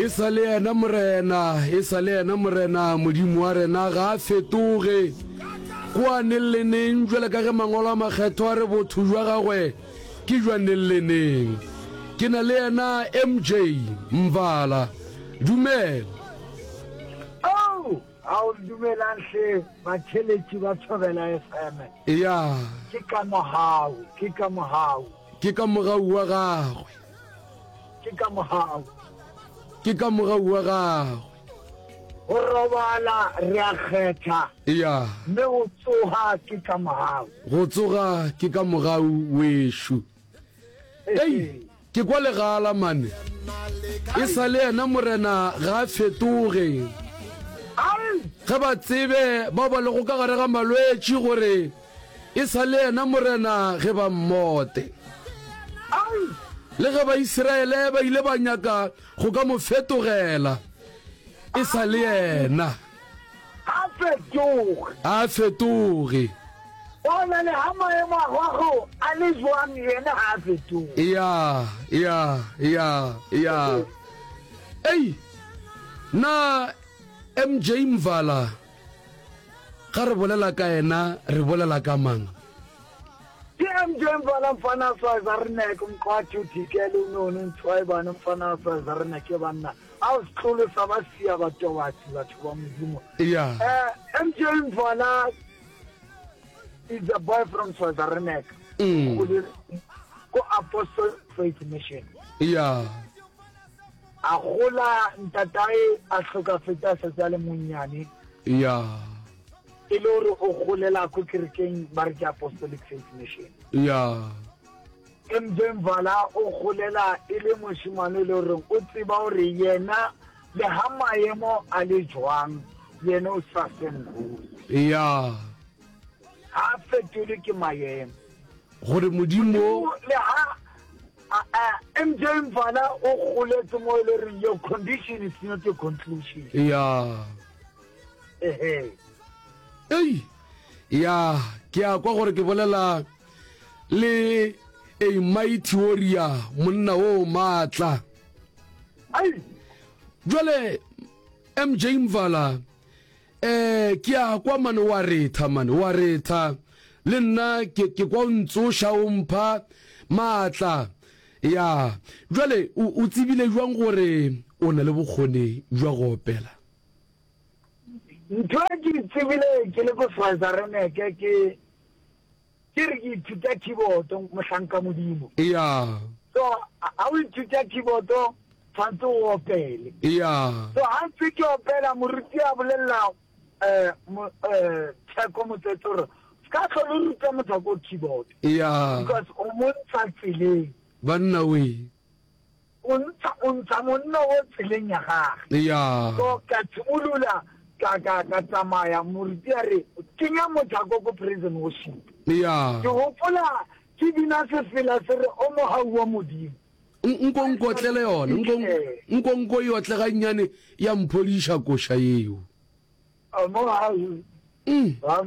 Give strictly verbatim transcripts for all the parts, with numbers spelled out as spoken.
E sa le yena Morena, e sa le yena Morena Modimo wa rena, ga a fetoge. Kua neng le neng, bjale ka ge Mangwalo a Makgethwa a re botho bja gagwe ke bja neng le neng. Ke na le yena M J Mvala. Dumela. Oh, ao dumelang hle batheletši ba Thobela F M. Ya. Ke ka mogau, ke ka mogau. Ke ka mogau wa gagwe. Ke ka mogau. Ke ka mogau wa gagwe. Go robala re a kgetha. Ya. Mme go tsoga ke ka mogau. Go tsoga ke ka mogau wešo. Ei, ke kwa legala mane. E sa le yena Morena ga a fetoge. Ge ba tsebe bao ba lego ka gare ga malwetši gore e sa le yena Morena ge ba mmote. Le ge Baisiraele ba ile ba nyaka go ka mo fetogela, e sa le yena. Ga a fetoge. Ga a fetoge. Gona le ga maemo a gago a le jwang, yena ga a fetoge. Ya, ya, ya, ya. Ei, na M J Mvala, ga re bolela ka yena, re bolela ka mang? Ke M J Mvala, mfana a Swaziland, mqwathi uthikele unoni untshwaebane, mfana a Swaziland, ke banna. A o setlolo sa ba sia batobatsi, batho ba Modimo. Ya. Eh, M J Mvala is a boy from Swaziland. Mm. Ko Apostle Faith Mission. Ya. A gola ntatae a hlokafetse a setse a le monnyane. Ya. E le gore o golela ko kerekeng ba re ke Apostolic Faith Mission. Ya. M J Mvala o golela e le mošemane e le goreng o tseba gore yena le ha maemo a le jwang, yena o sa seng. Ya. Ha fetole ke maemo. Gore Modimo le ha M J Mvala o goletse mo e le reng your condition is not your conclusion. Ya. Ehe. Ei. Ya, ke a kwa gore ke bolela le a mighty warrior, monna o maatla. Ai. Jwale M J Mvala, eh ke a kwa mane wa retha mane, wa retha. Le nna ke ke kwa o ntsoša o mpha maatla. Ya. Jwale o o tsebile jwang gore o na le bokgoni bja go opela? Ntho e ke tsebile ke le ko Swaziland ke ke ke re ke ithuta keyboard mohlanka Modimo. Ya. So ha o ithuta keyboard tshwantse o opele. Ya. So ha ntse ke opela moruti a bolella eh eh Theko Motsetse gore ska tlhole ruta motho ko keyboard. Ya. Because o mo ntsha tseleng. Banna we. O ntsha o ntsha monna o tseleng ya gagwe. Ya. So ka tshimolola ka ka ka tsamaya moruti a re kenya motho ko ko prison worship. Ya. Ke hopola ke bina sefela se re o mohau wa Modimo. Nko nkotlele yona, nko nko nko e otle gannyane ya mphodiša koša yeo. O mohau Mm. wa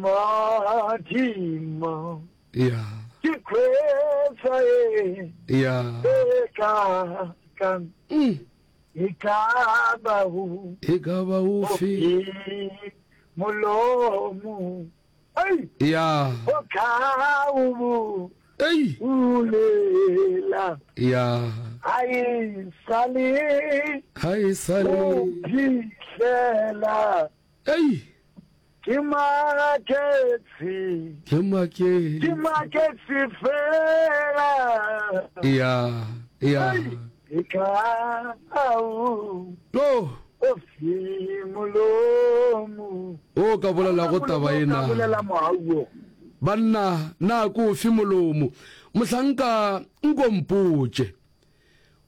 Modimo. Ya. Ke khwetsa e. Ya. E ka ka. Mm. E ka ba ho. E ka ba ofe. Molomo. Ei. Ya. O ka o. Ei. Ulela. Ya. Ai sale. Ai sale. O phihlela. Ei. Ke maketse. Ke maketse. Ke maketse fela. Ya. Ya. E ka au. No. O fi molomo. O ka bolela go taba ena. O ka bolela mohau. Banna na ko fi molomo. Mohlanka nko mpotše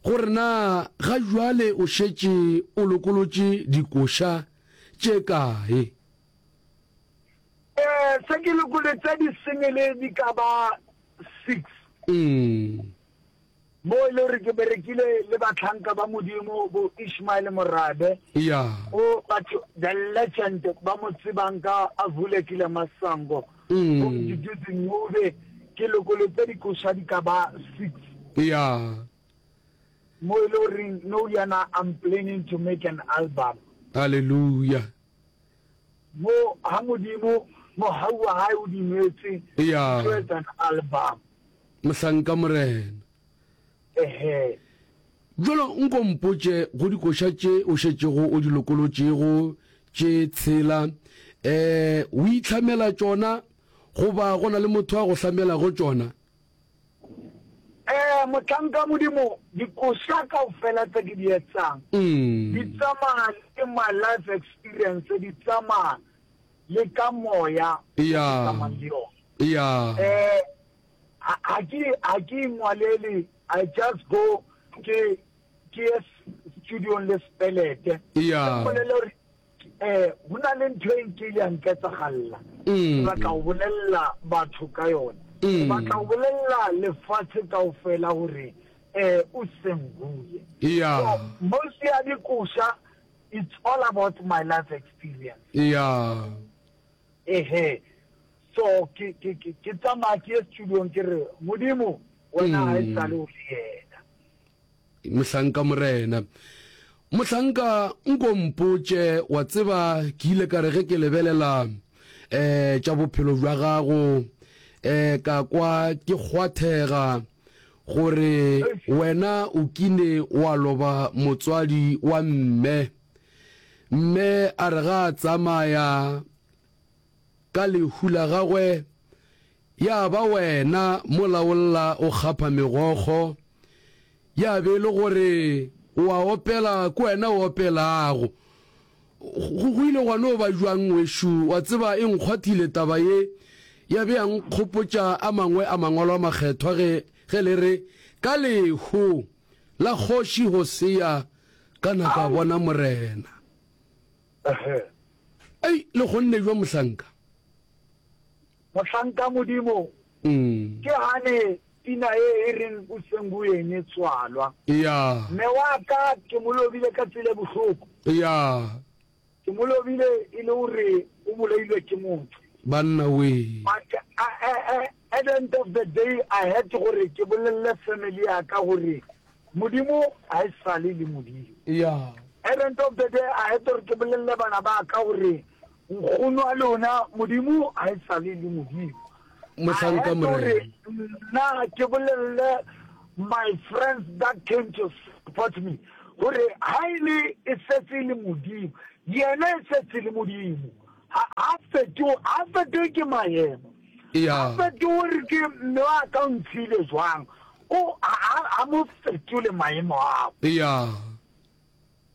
gore na ga jwale o šetše o lokolotše dikoša tše kae? Eh, se ke lokolotse di-single di ka ba six. Mm. Mo e le gore ke berekile le batlhanka ba Modimo bo Ishmael Morabe. Ya. O batho the legend ba mo tsebang ka Avulekile Masango. Mm. Bo Mduduzi Ncube ke lokolotse dikoša di ka ba six. Ya. Mo e le goreng nou yana I'm planning to make an album. Hallelujah. Mo ha Modimo mohau wa hae o dumetse Ya. ke tlo etsa an album. Mohlanka Morena. Ehe. Bjalo nko mpotše go dikoša tše o šetšego o di lokolotšego tše tshela, eh, o itlhamela tšona goba go na le motho a go hlamelago tšona? Eh, mohlanka Modimo, dikoša kaofela tse ke di etsang di tsamaya le my life experience, di tsamaya le ka moya o ke tsamayang le yona. Ya. Eh, ha ke ha ke ingwalele, I just go ke ke ye studiong le sepelete. Ya. Ke bolele gore eh go na le ntho e nkile ya nketsagalla. Ke batla go bolella batho ka yona. Ke batla go bolella lefatshe kaofela gore eh o senguye. Ya. So most ya dikoša it's all about my life experience. Ya. Ehe. So ke ke ke ke tsamaya ke ye studiong ke re Modimo wena ha e sale o le yena. Mohlanka Morena. Mohlanka nko mpotše, wa tseba ke ile ka re ge ke lebelela eh tša bophelo bja gago eh ka kwa ke kgwathega gore wena o kile wa loba motswadi wa mme. Mme a re ga a tsamaya ka lehu la gagwe ya ba wena molaolla o kgapha megokgo, ya be e le gore o a opela, ke wena o opelago. Go, go ile gwa no ba bjang, wešu? Wa tseba, e nkgwathile taba ye, ya be ya nkgopotša a mangwe a Mangwalo a Makgethwa ge, ge le re, Ka lehu la Kgoši Hosea ka na ka bona Morena. Ei, le kgonne bjang, mohlanka? Mohlanka Modimo, ke gane pina ye e reng o senguyeng e tswalwa. Ya. Mme wa ka ke mo lobile ka tsela e bohloko. Ya. Ke mo lobile e le gore o bolailwe ke motho. Banna wee. But at the end of the day I had gore ke bolelle family ya ka gore Modimo ga e sale le Modimo. Ya. At the end of the day I had gore ke bolelle bana ba ka gore nkgono wa lona Modimo ga e sale le Modimo. Mohlanka Morena. Nna ke bolelle my friends that came to support me gore ha e le e setse e le Modimo, yena e setse le Modimo. Ha a fetoge, ha fetoge ke maemo. Ya. Ha fetoge gore ke mme wa ka o ntshile jwang. O ha mo fetole maemo ao. Ya.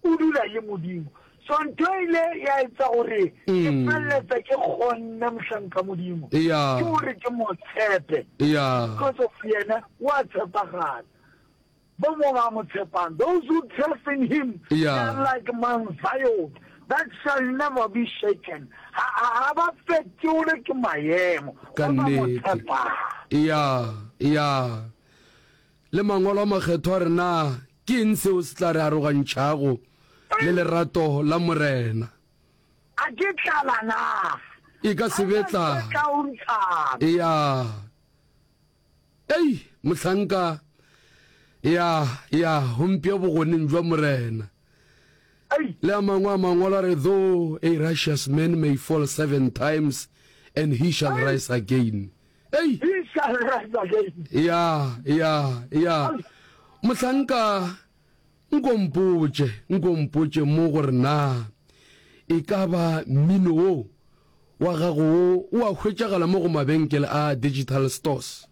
O dula le Modimo. So ntho e ile ya etsa gore ke feleletsa ke kgonne mohlanka Modimo. Ya. Ke gore ke mo tshepe. Ya. Because of yena wa tshepagala. Bo mo ba mo tshepang. Those who trust in him, Ya. they are like Mount Zion that shall never be shaken. Ha ha ba fetole ke maemo. Ka Ba ba mo nnete. tshepang. Ya, ya. Le mangwalo a makgethwa a re na ke eng seo se tla re arogantšhago le lerato la Morena? A ke tlala na? E ka se be tlala. Ka o ntshana. Ya. Ei, mohlanka. Ya, ya, gompia bogoneng bja Morena. Ei. Le a mangwe a mangwalo a re, though a righteous man may fall seven times, and he shall Ei. rise again. Ei. He shall rise again. Ya, ya, ya. Mohlanka, nko mpotše, nko mpotše mo gore na e ka ba mmino wo wa gago wo o a hwetšagala mo go mabenkele a digital stores?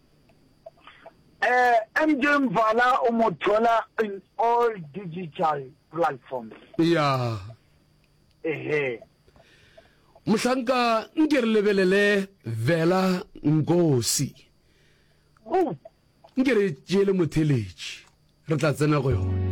Eh, M J Mvala o mo thola in all digital platforms. Ya. Ehe. Mohlanka, nke re lebelele Vela Nkosi. Oh. Nke re tšeele motheletši, re tla tsena go yona.